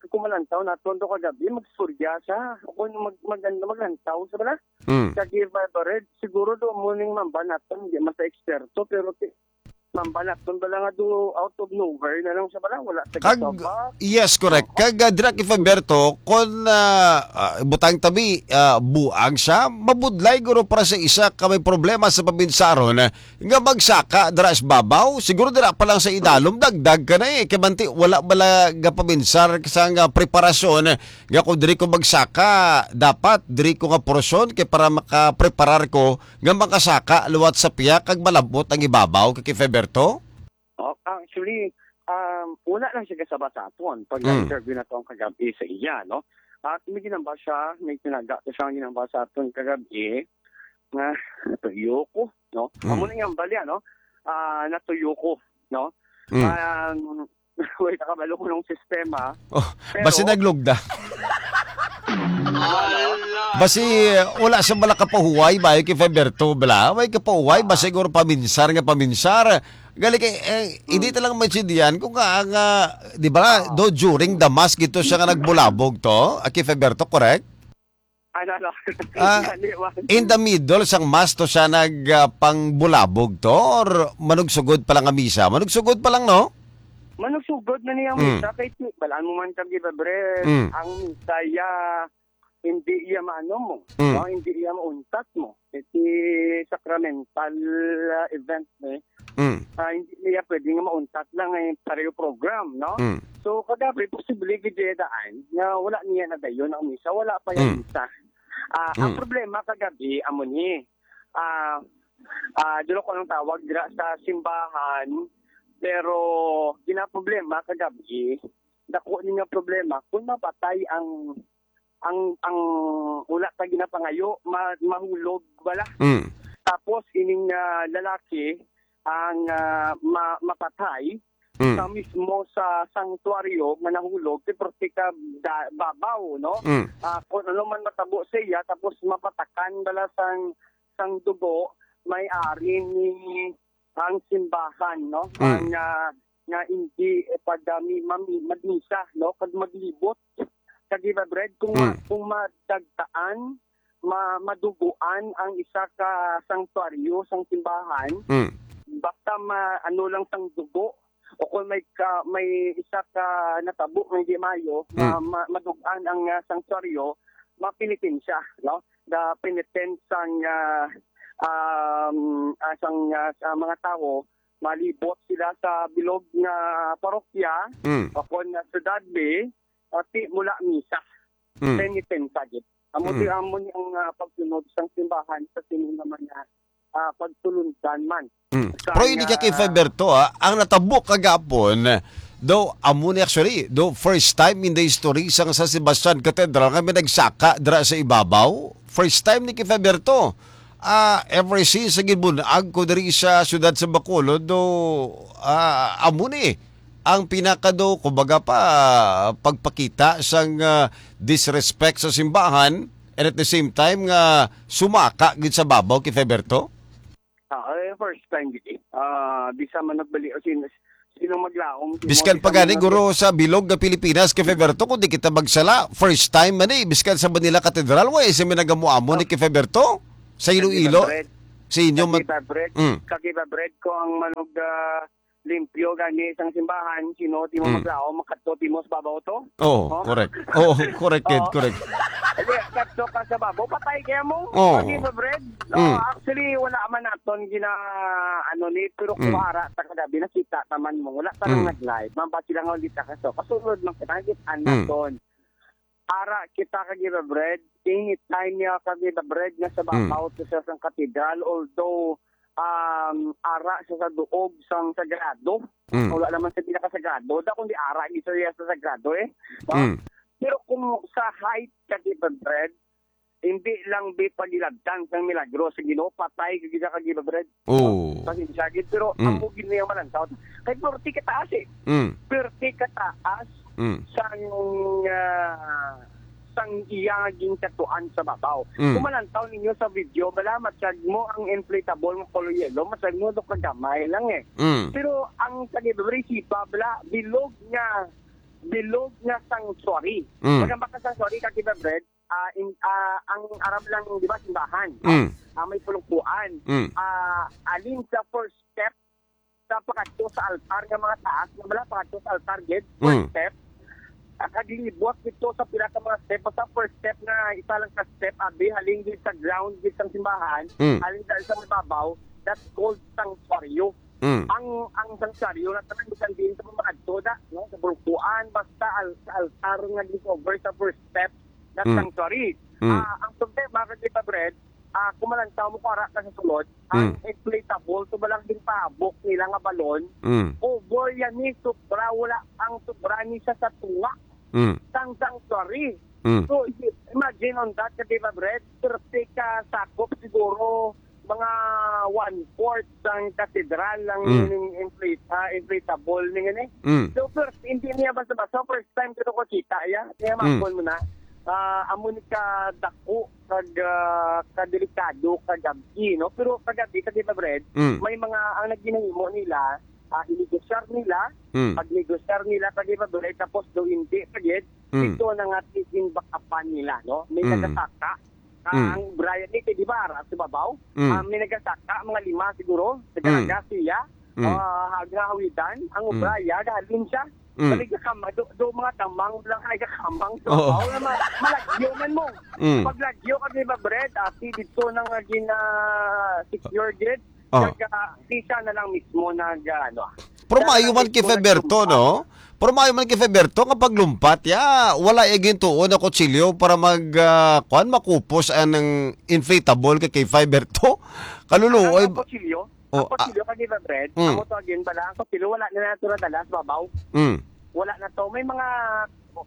kumalantaw nato do kagabi, magsurya siya. O kung mag-, mag-, maglantaw siya bala. Mm. Kag iba ba red, siguro do mo ning mambal nato, hindi man sa eksperto, pero ti-, mambal nato bala nga do out of nowhere na lang siya bala, wala sa Kag, kasaba. Yes, correct. Oo. Kag, ah, Drak Ifaberto, kung, ah, ah, butang tabi, ah, buang siya, mabudlay guro para sa isa ka may problema sa pabinsaron, ah, nga magsaka dira sa babaw, siguro dira pa lang sa idalom, dagdag ka na eh. Kay manti, wala bala nga paminsar sa nga preparasyon nga kung diri ko magsaka, dapat diri ko nga porosyon kay para makapreparar ko nga makasaka liwat sa piyak kag malabot ang ibabaw, kay Feberto? Oh, actually, um, wala lang siya kasaba sa aton pag Mm. interview na to ang kagabi sa iya, no? At may ginamba siya, may tinaga to siya ang ginamba sa aton kagabi nga natuyo ko, no? Mm. Amo na yung balya, no? Ah, natuyo ko, no? Mm. Um, wait, nakabalo ko ng sistema. Oh, pero basi naglugda. Basi, wala sa bala kapahuway ba, kay Feberto, bala? May kapahuway ba siguro paminsar nga paminsar? Gali kay, eh, hindi Mm. talang maintindihan kung nga, nga, di ba, Oo. do during the mass gito siya nga nagbulabog to, ah, kay Feberto, correct? Ano, ano? Ah, Hindi, wa-, in the middle sang mass to siya nag, ah, pangbulabog to or manugsugod pa lang ang misa? Manugsugod pa lang, no? Manugsugod na niya ang Mm. misa kay ti-, balaan mo man kag iba, bre. Mm. Ang misa ya, hindi iya maano mo, Mm. no? Hindi iya mauntat mo. Iti sacramental, ah, event ni, Mm. ah, hindi niya pwede nga mauntat lang, eh, pareho program, no? Mm. So, kagabi, posible gid iya daan nga wala niya nadayon ang misa, wala pa yung Mm. misa. Ah, ang Mm. problema kagabi, amo ni, ah, ah, dulo ko ang tawag dira sa simbahan, pero ginaproblema kagabi, dako ni nga problema kung mapatay ang, ang, ang wala pa ginapangayo, ma-, mahulog bala. Mm. Tapos ining, ah, lalaki ang, ah, ma-, mapatay Mm. sa mismo sa sanctuaryo nga nahulog, kay perti ka da-, babaw, no? Mm. Ah, kung ano man matabo sa iya, tapos mapatakan bala sang, sang dugo, may ari ni ang simbahan, no? Mm. Ang, ah, nga hindi, eh, pagdami, mami-, magmisa, no? Kag maglibot. Kag iba, Brad, kung ma-, Mm. kung madagtaan, ma-, maduguan ang isa ka sanctuaryo, sang simbahan, Mm. basta ma-, ano lang sang dugo, o kung may ka-, may isa ka natabo nga hindi maayo, ma-, Mm. ma-, madugan ang, ah, sanctuaryo, mapenitensya, no? The penitence sang, ah, um, ah, sang, ah, sa mga tawo, malibot sila sa bilog nga parokya, Mm. o kon na syudad bi, o ti mula misa. Mm. Penitensya gid. Amo Mm. ti, amo ni ang, ah, pagsunod sang simbahan sa sini nga mga, ah, pagtulundan man. Mm. Sa Pero hindi nga ka kay Faberto, ah, ang natabo kagapon, daw amo ni actually, daw first time in the history sang San Sebastian Cathedral nga may nagsaka dira sa ibabaw. First time ni kay Faberto. Ah, ever since sa ginbun-ag ko diri sa siyudad sa Bacolod, do, ah, amo ni ang pinakado, kumbaga pa, pagpakita sang, ah, disrespect sa simbahan, and at the same time nga sumaka gid sa babaw kay Feberto? Ah, eh, first time gid. Ah, di sa man nagbali o sin-, sino maglaom, sino Biskan di pa sa gani, mga guro, sa bilog nga Pilipinas, kay Feberto, kung di kita magsala, first time man eh, biskan sa Manila Cathedral, wa isa may nagamuamo ni kay Feberto? Sa Iloilo? Kagiba bread. Sa inyo mag- Kagiba bread. Mm. Kagiba bread ko ang manog, ah, limpyo gani sang simbahan, sino ti mo Mm. maglaom, makadto ti mo sa babaw to? Oo, Oh. correct. Oo, correct, kid, Oo. correct. Hindi, kadto ka sa babaw, patay kaya mo. Oo. Kagiba bread. No, Mm. actually, wala man naton gina, ano ni, pero Mm. kuwara ta kagabi, nakita ta man mo. Wala ta nang Mm. nag-live. Man ba sila nga ulit ka so? Kasunod man kita, nakita Mm. naton. Ara kita kagiba bread. Anytime niya kagiba bread nga sa Mm. babaw to sa sang katedral, although, um, ara sa, sa duog sang sagrado. Mm. Wala naman sa pinakasagrado. Da kundi ara gid sa, sa sagrado eh. No? Mm. Pero kung sa height kagiba bread, hindi lang bi pagilabtan sang milagro sa Ginoo, patay ka gid ka kagiba bread. Oo. Pasensya gid, pero Mm. ako gid niya malantaw. Kay forty ka taas eh. Mm. Forty ka taas Mm. sang, ah, sang iya nga ginkatuan sa babaw. Mm. Kung malantaw ninyo sa video, bala, matyag mo ang inflatable nga color yellow, matyag mo do kagamay lang eh. Mm. Pero ang sa Libre Sipa, bala, bilog nga, bilog nga sanctuary. Mm. Pag ang baka sanctuary, kagiba bread, ah, in, ah, ang Arab lang, di ba, simbahan. Mm. Ah, may pulungkuan. Mm. Ah, alin sa first step sa pakadto sa altar nga mga taas, nga wala pakadto sa altar gid, first Mm. step. Ah, kaglibot dito sa pila ka mga step, sa first step nga isa lang ka step, abi, halin gid sa ground gid sang simbahan, Mm. halin sa, sa mababaw, that's called sanctuaryo. Mm. Ang, ang sanctuaryo na tanan bisan diin sa mga adto da, no? Sa bulkuan, basta al-, sa altar nga gi-cover sa first step, that's Mm. sanctuary. Mm. Ah, ang problema, kagiba bread, ah, kung malantaw mo kung ara ka sa sulod, ang Mm. inflatable, to ba lang din pahabok nila nga balon, Mm. over yan ni, sobra, wala ang sobra ni siya sa tunga Mm. sang sanctuary. Mm. So, i-, imagine on that, kagiba bread, thirty ka sakop siguro, mga one-fourth sang katedral ang Mm. ining inflate-, ah, inflatable ning ini. Mm. So, first, hindi niya basta-basta, first time ko to kita, ya. Kaya Mm. mapon mo na. Ah, amo ni ka dako kag, ah, kadelikado kagabi, no? Pero kagabi, kagiba bread, Mm. may mga, ang nagginahimo nila, ah, inegosyar nila, Mm. pagnegosyar nila, kagiba bread, tapos do hindi, pagid, Mm. ito na nga tiginbakapan nila, no? May Mm. nagasaka. Ah, Mm. ang Brian, eh, di ba, ara sa babaw? Mm. Ah, may nagasaka, mga lima siguro, Mm. nagaraga siya, Mm. ah, hag-, hawidan, ang Mm. Brian, gahalin siya. Mm. Balik ka kamang, do, do mga tamang lang ay ka kamang sa Oo. babaw na ma-, malagyo man mo. Mm. Paglagyo ka, di ba, Brad? Ah, si dito na nga gina-secure gid. Oh. Kag, ah, di siya na lang mismo nag, ah, ano, ah. Pero siya na maayo lang man kay mismo Feberto, nagsumpa. No? Pero maayo man kay Feberto nga paglumpat, ya, wala iya gintuon na kutsilyo para mag, ah, kuwan, makupos anang inflatable kay, kay Feberto. Kaluluoy. Ang, ang kutsilyo, Oh, ang ah, kutsilyo, kagiba bread, mm. Amo to again pala, ang kutsilyo, wala na nato nadala sa babaw. Mm. Wala na to. May mga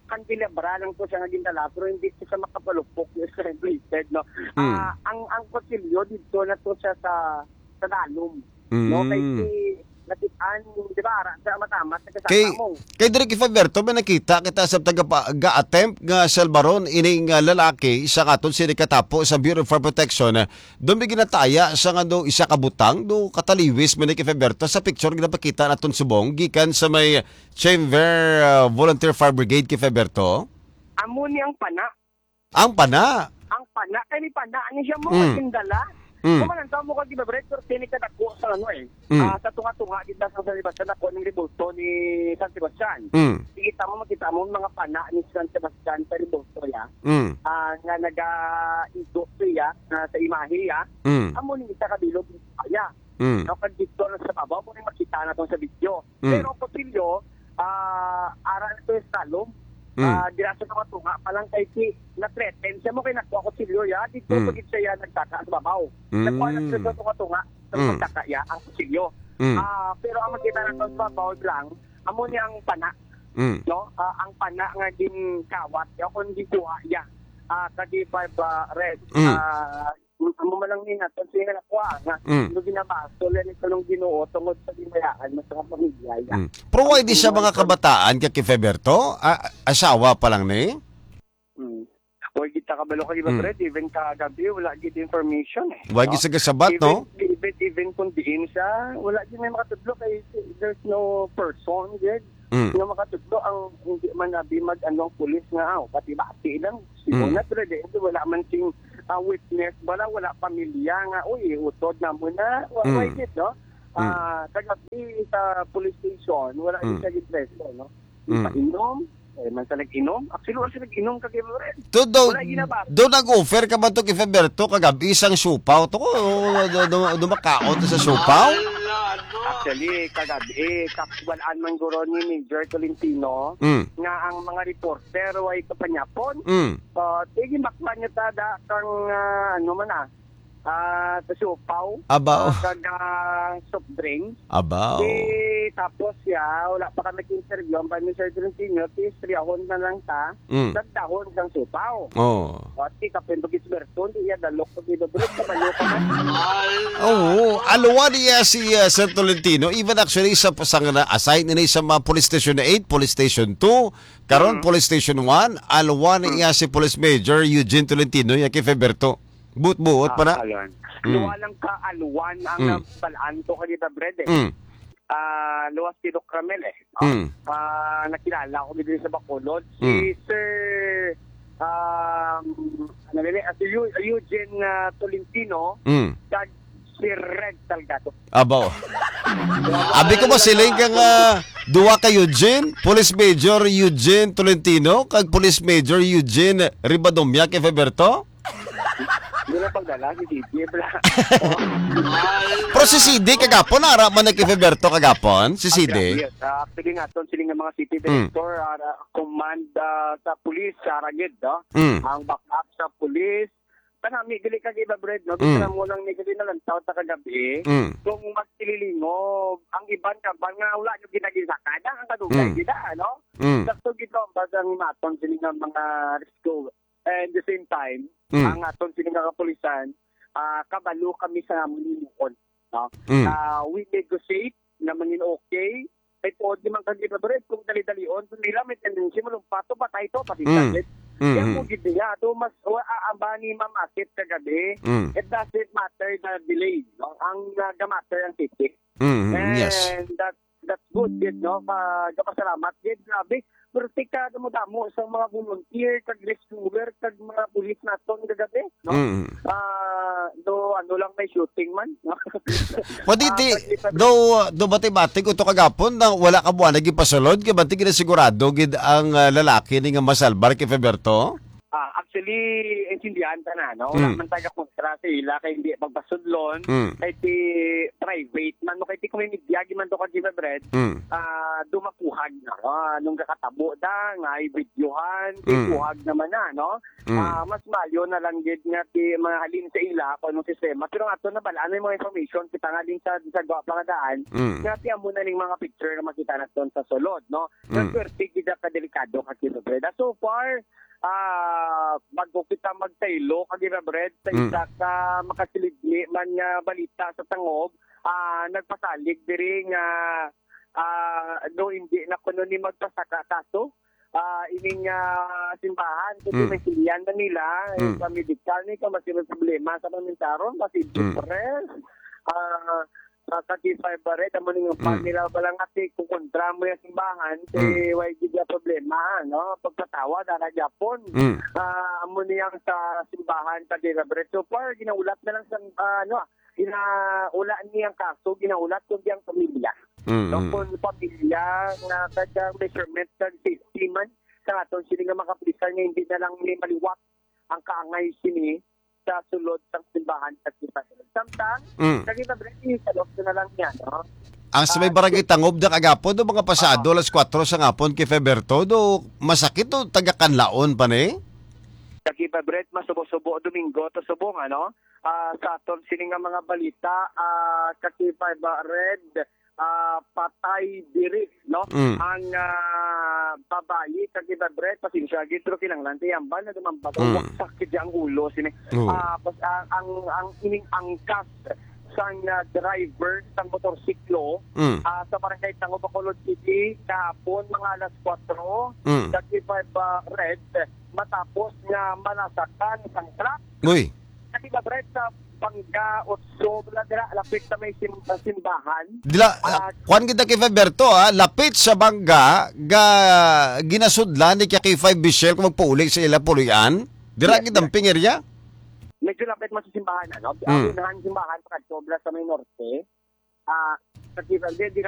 candelabra lang to siya nga gindala, pero hindi to siya makapalupok yung translated, no? Mm. Ah, ang, ang kutsilyo dito na to siya sa, sa dalom, no? Mm. Kay si Natian, di ba, ara, sa matamat, sa Kay, kasama mo. Kay Direk Faberto, may nakita kita sa taga-, ga-attempt nga salbaron ining, ah, lalaki sa katon sini katapo sa Bureau of Fire Protection, ah, doon may ginataya sa nga do isa ka butang, do kataliwis man ni kay Faberto sa picture ginapakita naton subong gikan sa may Chamber, ah, Volunteer Fire Brigade kay Faberto. Amo ni ang pana. Ang pana? Ang pana, kay ni pana, ani siya mo, Mm. gindala. Mm. Kung malantaw mo kag iba, Brad, pero kini kadako sa ano eh. Mm. Ah, sa tunga-tunga, kita sa San Sebastian, ako ning rebulto ni San Sebastian. Mm. Kita mo, makita mo mga pana ni San Sebastian sa rebulto ya. Mm. Ah, nga nagaigo siya na sa imahe ya. Mm. Amo ni isa ka bilog ya. Mm. No, kag dito na sa babaw, mo ni makita na tong sa video. Mm. Pero ang kutsilyo, ah, ara na to yung slalom. Mm. Ah, dira sa mga tunga pa lang kay si na-threaten siya mo kay nakuha kutsilyo ya. Dito Mm. pagit siya ya nagtaka sa babaw. Mm. Nakuha na siya sa tunga-tunga sa Mm. pagtaka ya ang kutsilyo. Mm. Ah, pero ang makita na to sa babaw lang, amo niya ang pana. Mm. No? Ah, ang pana nga ginkawat ya kung gikuha ya. Ah, kadi five, ah, red. Mm. Ah, Amo man lang ni naton siya nga nakuha nga Mm. no ginabasol yan ito ng Ginoo tungod sa ginayaan mo sa pamilya ya. Mm. Pero why di siya mga kabataan kay Feberto? A-, asawa pa lang ni? Mm. Oy, kita kabalo ka, di ba, Mm. Fred? Even kagabi, wala gid information eh. Why No? gid sa gasabat, Even, no? even, even kung diin siya, wala din may makatudlo kay there's no person, gid. Mm. Nga makatudlo ang hindi man abi mag ano ang pulis nga aw, bati-bati lang. Si Mm. Una, pero di, wala man sing ah, witness bala, wala pamilya nga, uy, utod na mo na. Wa-, Mm. why gid, no? Mm. Ah, kagabi sa police station, wala Mm. siya gipreso, no? Mm. Ipainom, eh, man sa nag-inom. Actually, wala siya nag-inom kag Everett. Do, do, Wala ginabasa. do nag-offer ka ba to kay Feberto kagabi isang siupaw? To ko, do, do, do makaon to sa siupaw? Actually, kagabi, eh, kakuwalaan man guro ni Major Tolentino Mm. nga ang mga reporter way kapanyapon. Mm. Ah, sige, makwa niya ta da kang, ah, ano man, ah, ah, sa siupaw, Abaw. ah, kag, ah, soft drinks. Abaw. Di, tapos siya, wala pa kami interview ang Prime Minister Tolentino, di, istriyahon na lang ta, Mm. sa dahon sang siupaw. Oh. O, di, kapin, pag isberto, di, iya, dalok, pag ibabrot, sa manok, ka man. Oo, aluwa niya si, ah, Sir Tolentino. Even actually, sa, sa nga na-assign nila sa mga police station eight, police station two, karon Mm. police station one, aluwa Mm. niya si Police Major Eugene Tolentino, ya kay Feberto. Buot-buot pa na. Ah, alwan. Mm. Luwa lang ka alwan ang Mm. nabalaan ko kanina, Brad, eh. Mm. Ah, luwas si Doc Ramel, eh. No? Mm. Ah, nakilala ko din sa Bacolod. Si Mm. Sir, um, ano nila, ah, si Eu-, Eugene, ah, Tolentino, Mm. kag si Red Salgado. Abaw. Abi ko masiling kang, ah, duwa ka Eugene, Police Major Eugene Tolentino, kag Police Major Eugene Ribadomia kay Feberto? Hindi na pagdala si C D, bla. Pero si C D kagapon, ara man na kay Feberto kagapon, si C D. Yes, ah, actually nga, ton, sila nga mga city Mm. director, ah, command, ah, sa police, sa Ragid, no? Mm. Ang backup sa police, kanami, dili ka iba, Brad, no? Mm. Kita mo lang ni, dili na lang tao ta kagabi. Mm. Kung magsililingog, ang iban ka ba nga wala nyo ginagisakada, ang kadugay Mm. gina, ano? Mm. Sakto gito, ang basang maton, sila nga mga rescue. And the same time, Mm. ang aton sini nga kapulisan, ah, kabalo kami sa amon himuon, no? Mm. Ah, we negotiate na mangin okay. Kay tuod ni man kag iba, Brad, kung dali-dalion, kung nila may tendency malumpat to, patay to, pati Mm. sakit. Mm, Kaya mm. mo gid niya, ato mas, wa, ah, ang ba ni Ma'am Asit kagabi, Mm. it doesn't matter the delay, no? Ang, ah, nagamatter ang titik. Mm, mm, yes. And that, that's good, gid, no? Ka-, kapasalamat, gid, grabe. Pero tika, damo-damo sa mga volunteer, kag rescuer, kag mga pulis naton kagabi, no? Mm. Ah, do, ano lang, may shooting man, no? Pwede Ah, di, pwede pa do, do bati-bati ko to kagapon na wala ka buwan naging pasulod, kay bati ginasigurado gid ang, ah, lalaki ni nga masalbar kay Feberto? Ah, actually, intindihan ta na, no? Wala Mm. man tayo kontra sa ila kay hindi magpasudlon, Mm. kay ti private man, no? Kay ti kung may media, giman to ka, Jimmy Bread, Mm. ah, dumakuhag na, no? Nung kakatabo da, nga ay videohan, kay Mm. kuhag naman na, no? Mm. Ah, mas mayo na lang gid nga ti mga halin sa ila kung anong sistema. Pero nga to, nabalaan na yung mga information, kita nga din sa, sa gwa pa nga daan, Mm. nga ti amo na ning mga picture nga makita naton sa sulod, no? Mm. Swerte gid ka delikado ka, Jimmy Bread. Ah, so far, ah, bago kita magtaylo, kag Ira Bread, sa Mm. isa ka makasilidli man nga balita sa tangob, ah, nagpasalig diri nga, ah, no, hindi na kuno ni magpasaka kaso, ah, ining, ah, simbahan, kasi Mm. may silihan na nila, Mm. sa medical ni, kung mas may problema sa pamintaron, mas Mm. depressed, ah, ah, ka K five Red, amo ni nga Mm. pag nila balang ati, kung kontra mo yung simbahan, si Mm. Y G di problema, no? Pagpatawa, dara gyapon. Mm. Ah, amo ni ang sa simbahan, ka K five Red. So far, ginaulat na lang sa, ah, ano, ah, ginaula ni ang kaso, ginaulat kundi ang pamilya. Mm, No, mm. kung pamilya nga kada measurement ng safety man, sa aton sini nga mga kapulisan nga hindi na lang ni maliwat ang kaangay sini sa sulod sang simbahan sa K five Red. Samtang, Mm. sa K five Red, isalok na lang niya, no? Ang sa may Ah, barangay Tangob na kagapon, do mga pasado Oo. alas kwatro sa ngapon kay Feberto, do masakit do taga Kanlaon pa ni? Sa K five Red, masubo-subo, Domingo, to subong, ano? Ah, sa aton sini nga mga balita, ah, sa K five Red, ah, patay diri, no? Mm. Ang, ah, babayi sa K five Red, pasensya gid, pero kinahanglan tiyamban na dumambag ang Mm. waksak gid ang ulo sini. Oo. Ah, pas-, ang, ang, ang ining angkas sang, ah, driver sang motorsiklo, Mm. ah, sa barangay Tango, Bacolod City, kahapon mga alas kwatro, Mm. sa K five, ah, Red, matapos nga malasakan sang truck. Uy. Sa K five Red, sa Bangga Otso, wala dira, lapit sa may sim-, ah, simbahan. Dila, Ah, ah, kuwan kita kay Faberto, ah, lapit sa Bangga, ga, ginasudlan ni K five Michelle kung magpauli sa ila pulian. Dira Yes, gid ang yes. ping area? Medyo lapit mo sa simbahan, ano? Mm. Ang unahan simbahan, pagkadto, bala sa may norte. Ah, sa K five, di, di